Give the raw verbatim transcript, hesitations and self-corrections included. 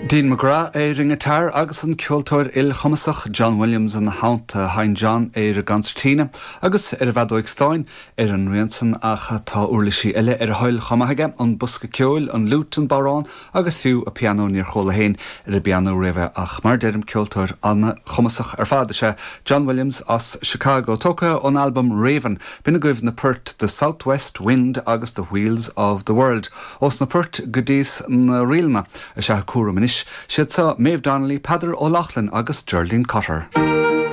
Dean McGrath ar an ngiotár agus an ceoltóir ilchumasach John Williams ina theannta. Sheinn John ar an gconsairtín agus ar an bhfeadóig stáin ar an rian san ach tá uirlisí eile ar a thoil chomh maith aige an bosca ceoil, an fhliúit an bodhrán agus fiú an pianó níor chuala féin ar an bpianó riamh ach mar deirim ceoltóir an-chumasach ar fad is ea John Williams as Chicago tógtha ón album Raven, b'in agaibh na poirt The Southwest Wind agus The Wheels of the World. Ós na poirt go dtí na ríleanna is ea cúram anois, siad seo Maeve Donnelly, Peadar O'Loughlin agus Geraldine Cotter.